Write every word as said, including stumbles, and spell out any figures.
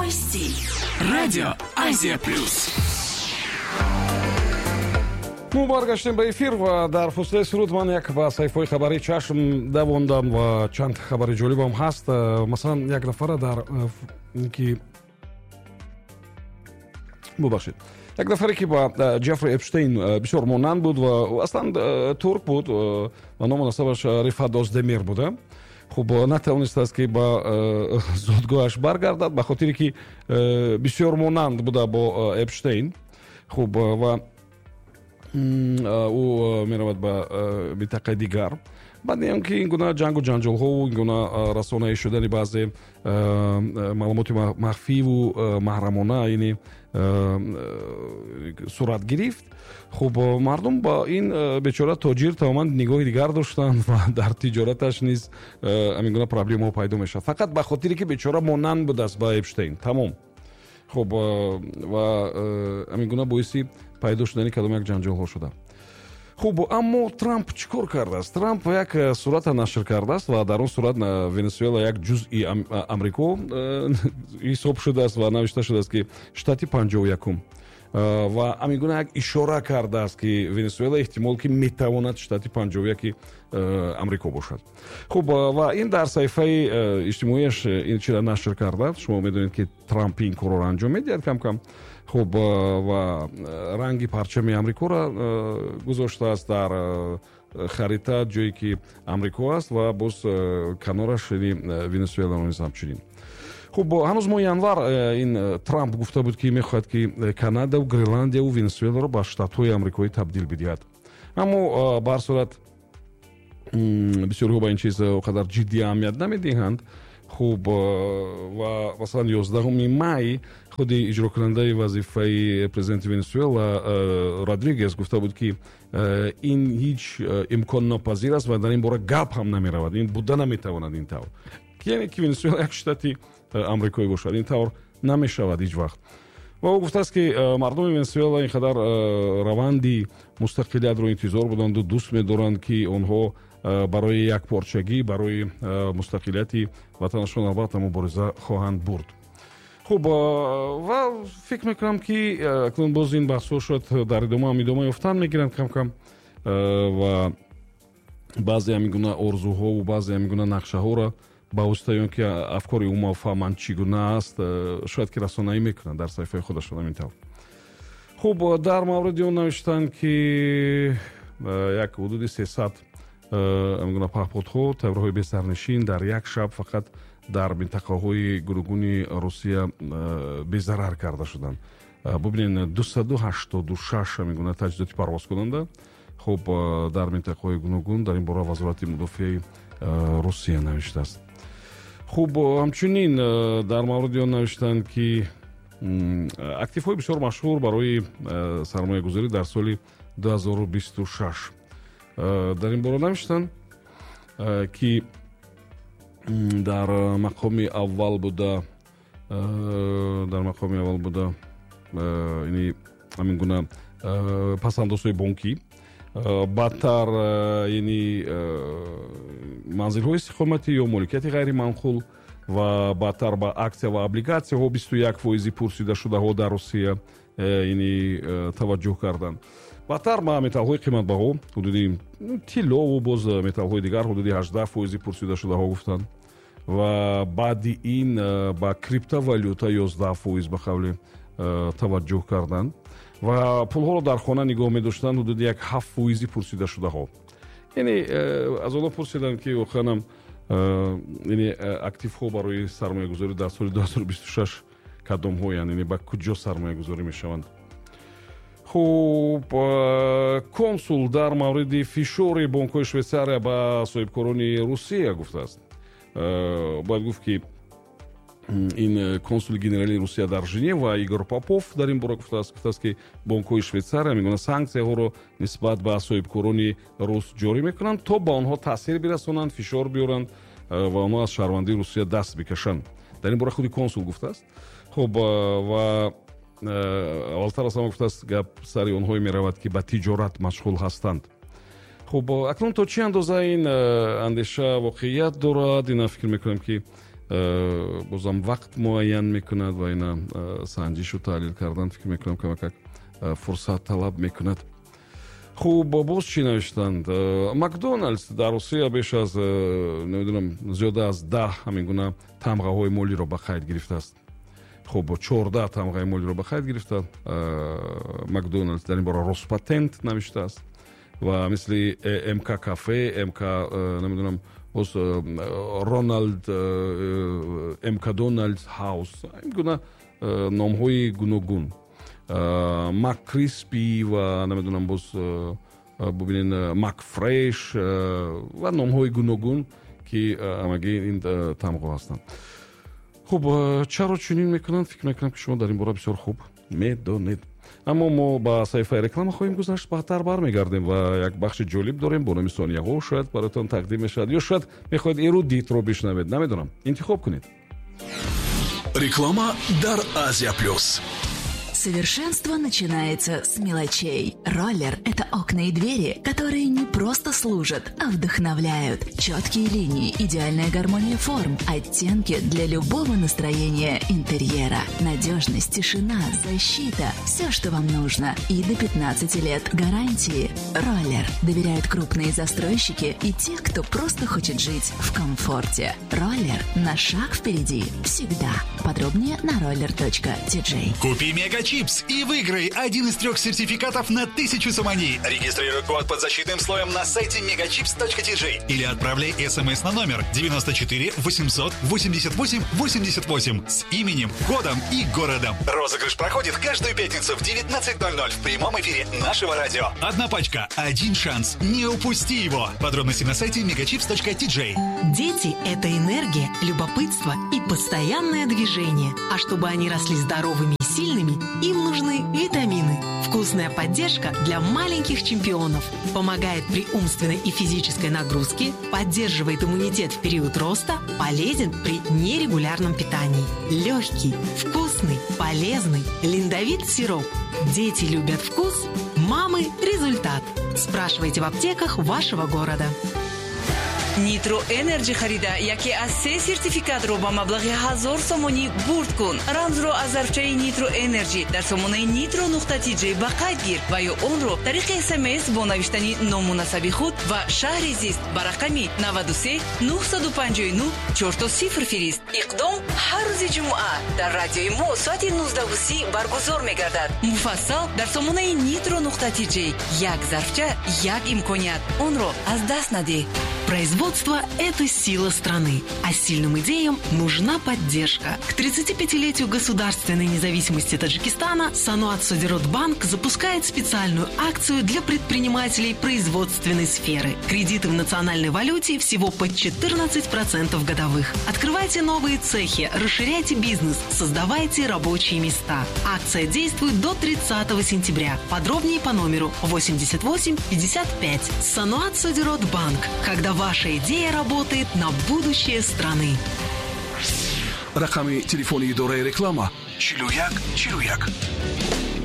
Свой стиль. Радио Азия Плюс. Мо баргаштем ба эфир ва дар фосилаи суруд ман як ба саҳифаҳои хабарӣ чашм давондам ва чанд хабари ҷолибам ҳаст. Масалан, як нафара дар ки, бубахшед, як нафаре, ки ба Ҷеффри Эпштейн бисёр монанд буд ва аслан турк буд ва ному насабаш Рифат Оздемир буда, хуб, натавонистааст, ки ба зодгоҳаш баргардад, ба хотире ки бисёр монанд буда бо Эпштейн. Хуб, ва ӯ меравад ба минтақаи дигар. Баъд он ки ин гуна ҷангу ҷанҷолҳову ин гуна расонаӣ шудани баъзе маълумоти махфиву маҳрамона, яъне, сурат гирифт, хуб, мардум ба ин бечора тоҷир тамоман нигоҳи дигар доштанд ва дар тиҷораташ низ ҳамин гуна проблемаҳо пайдо мешавад, фақат ба хотире ки бечора монанд будааст ба Эпштейн, тамом. Хуб, ва ҳамин гуна боиси пайдо шудани кадом як ҷанҷолҳо шуда. Хуб, аммо Трамп чӣ кор кардааст? Трамп як сурата нашр кардааст ва дар он сурат Венесуэла як ҷузъи Амрико ҳисоб шудааст ва навишта шудааст, ки штати панҷоҳу якум, ва ҳамин гуна як ишора кардааст, ки Венесуэла эҳтимол ки метавонад штати панҷоҳу яки Амрико бошад. Хуб, ва ин дар саҳифаи иҷтимоияш ин чиро нашр кардааст. Шумо медонед, ки Трамп ин корро анҷом медиҳад кам кам. Хуб, ва ранги парчами Амрикоро гузоштааст дар харита, ҷое ки Амрико аст, ва боз канораш Венесуэларо низ ҳамчунин. Хуб, ҳанӯз моҳи январ ин Трамп гуфта буд, ки мехоҳад, ки Канадаву Гренландияву Венесуэларо ба штатҳои амрикоӣ табдил бидиҳад. Аммо ба ҳар сурат бисёриҳо ба ин чиз он қадар ҷиддӣ аҳамият намедиҳанд. Хуб, ва масалан, ёздаҳуми май худи иҷрокунандаи вазифаи президенти Венесуэла Родригес гуфта буд, ки ин ҳеҷ имконнопазир аст ва дар ин бора гап ҳам намеравад, ин буда наметавонад ин тавр, яъне ки Венесуэла як штати амрикоӣ бошад, ин тавр намешавад ҳеҷ вақт. Ва ӯ гуфтааст, ки мардуми Венесуэла ин қадар раванди мустақилиятро интизор буданду дӯст медоранд, ки онҳо барои якпорчагӣ, барои мустақилияти ватанашон албатта мубориза хоҳанд бурд. Хуб, ва фикр мекунам, ки акнун боз ин баҳсҳо шояд дар идома ҳам идома ёфтан мегиранд кам кам ва баъзе ҳамин гуна орзуҳову баъзе ҳамин гуна нақшаҳоро ба воситаи он ки афкори умумафаҳманд чӣ гуна аст, шояд ки расонаӣ мекунанд дар саҳифаи худашон, ҳамин тавр. Хуб, дар мавриди он навиштанд, ки як ҳудуди сесад ҳамин гуна паҳподҳо, тайёраҳои бесарнишин дар як шаб фақат дар минтақаҳои гуногуни Русия безарар карда шуданд. Бубинед, дусаду ҳаштоду шаш ҳамин гуна таҷҳизоти парвозкунанда, хуб, дар минтақаҳои гуногун. Дар ин бора Вазорати мудофиаи Русия навиштааст. Хуб, ҳамчунин дар мавриди он навиштанд, ки активҳои бисёр машҳур барои сармоягузорӣ дар соли ду ҳазору бисту шаш. Дар ин бора навиштанд, ки дар мақоми аввал буда дар мақоми аввал буда ини ҳамин гуна пасандозҳои бонкӣ, баъдтар яъни манзилҳои истиқоматӣ ё моликияти ғайриманқул ва баъдтар ба аксия ва облигатсияҳо бисту як фоизи пурсидашудаҳо дар Русия яъни таваҷҷӯҳ карданд. Баъдтар ба металлҳои қиматбаҳо, ҳудуди тиллову боз металлҳои дигар, ҳудуди ҳаждаҳ фоизи пурсидашудаҳо гуфтанд ва баъди ин ба криптовалюта ёздаҳ фоиз ба қавли таваҷҷӯҳ карданд ва пулҳоро дар хона нигоҳ медоштанд ҳудуди як ҳафт фоизи пурсидашудаҳо. Яъне аз онҳо пурсиданд, ки воқеанам яъне активҳо барои сармоягузорӣ дар соли ду ҳазору бисту шаш кадомҳоянд, яъне ба куҷо сармоягузорӣ мешаванд. Хуб, консул дар мавриди фишори бонкҳои Швейтсария ба соҳибкорони Русия гуфтааст. Бояд гуфт, ки ин консули генералии Русия дар Женева Игор Попов дар ин бора гуфтааст гуфтааст ки бонкҳои Швейтсария мегӯянд, санксияҳоро нисбат ба соҳибкорони рус ҷорӣ мекунанд, то ба онҳо таъсир бирасонанд, фишор биёранд ва онҳо аз шаҳрвандии Русия даст бикашанд. Дар ин бора худи консул гуфтааст. Хуб, ва аввалтар аз ҳама гуфтааст, гап сари онҳое меравад, ки ба тиҷорат машғул ҳастанд. Хуб, акнун то чӣ андоза ин андеша воқеият дорад, ина фикр мекунам, ки Бозам вақт муайян мекунад ва ина санҷишу таҳлил кардан, фикр мекунам, камакак фурсат талаб мекунад. Хуб, боз чӣ навиштанд? Макдоналдс дар Русия беш аз, намедонам, зиёда аз даҳ ҳамин гуна тамғаҳои молиро ба қайд гирифтааст. Хуб, чордаҳ тамғаи молиро ба қайд гирифта Макдоналдс, дар ин бора Роспатент навиштааст ва мисли МК кафе, МК, намедонам, боз Роналд, МК Доналдс Хаус, ин гуна номҳои гуногун, Маккриспи ва намедонам, боз бубинед, Макфреш ва номҳои гуногун, ки ҳамагӣ ин тамғо ҳастанд. Хуб, чаро чунин мекунанд, фикр мекунам, ки шумо дар ин бора бисёр хуб медонед. Аммо мо ба саҳифаи реклама хоҳем гузашт, баъдтар бармегардем ва як бахши ҷолиб дорем бо номи сонияҳо, шояд бароятон тақдим мешавад ё шояд мехоҳед эрудитро бишнавед, намедонам, интихоб кунед. Реклама дар Азия Плюс. Совершенство начинается с мелочей. Роллер – это окна и двери, которые не просто служат, а вдохновляют. Четкие линии, идеальная гармония форм, оттенки для любого настроения интерьера. Надежность, тишина, защита – все, что вам нужно. И до пятнадцати лет гарантии. Роллер доверяют крупные застройщики и те, кто просто хочет жить в комфорте. Роллер на шаг впереди всегда. Подробнее на roller.tj. Купи Мега Чипс и выиграй один из трех сертификатов на тысячу сомони. Регистрируй код под защитным слоем на сайте megachips.tj или отправляй смс на номер девяносто четыре восемьсот восемьдесят восемь восемьдесят восемь с именем, кодом и городом. Розыгрыш проходит каждую пятницу в девятнадцать ноль ноль в прямом эфире нашего радио. Одна пачка, один шанс. Не упусти его. Подробности на сайте megachips.tj. Дети – это энергия, любопытство и постоянное движение. А чтобы они росли здоровыми и сильными, им нужны витамины. Вкусная поддержка для маленьких чемпионов. Помогает при умственной и физической нагрузке, поддерживает иммунитет в период роста, полезен при нерегулярном питании. Легкий, вкусный, полезный Линдовит сироп. Дети любят вкус, мамы – результат. Спрашивайте в аптеках вашего города. Нитро Энерджи харида яке аз се сертификатро ба маблағи ҳазор сомонӣ бурд кун. Рамзро аз зарфчаи Нитро Энерджи дар сомонаи Нитро нуқта тиҷей ба қайд гир ва ё онро тариқи СМС бо навиштани ному насаби худ ва шаҳри зист ба рақами наваду се нуҳсаду панҷоҳу нуҳ чорто сифр фирист. Иқдом ҳар рӯзи ҷумъа дар радиои мо соати нуздаҳу си баргузор мегардад. Муфассал дар сомонаи Нитро нуқта тиҷей. Як зарфча, як имконият. Онро аз даст надеҳ. Производство – это сила страны, а сильным идеям нужна поддержка. К тридцатипятилетию государственной независимости Таджикистана Саноат Содиротбанк запускает специальную акцию для предпринимателей производственной сферы. Кредиты в национальной валюте всего под четырнадцать процентов годовых. Открывайте новые цехи, расширяйте бизнес, создавайте рабочие места. Акция действует до тридцатого сентября. Подробнее по номеру восемьдесят восемь пятьдесят пять. Саноат Содиротбанк. Когда ваша идея работает на будущее страны. Рақами телефони идораи реклама чилу як чилу як.